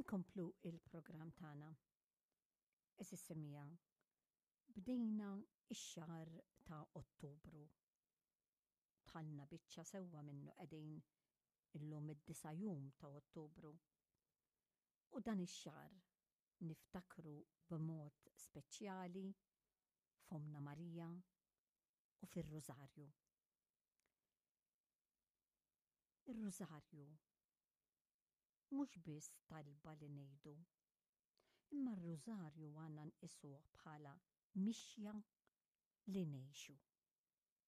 Inkomplu il-programm tagħna. Eżis semija, bdejna ix-xahar ta' Ottubru. Tħallna biċċa sewwa minnu qegħdin illum id-disa' jum ta' Ottubru. U dan ix-xahar niftakru b'mod speċjali f'Ommna Marija u fir-Rużarju. Ir-Rużarju mhux biss talba li ngħidu, imma r-Rużarju għandna nqisuh bħala mixja li ngħixu.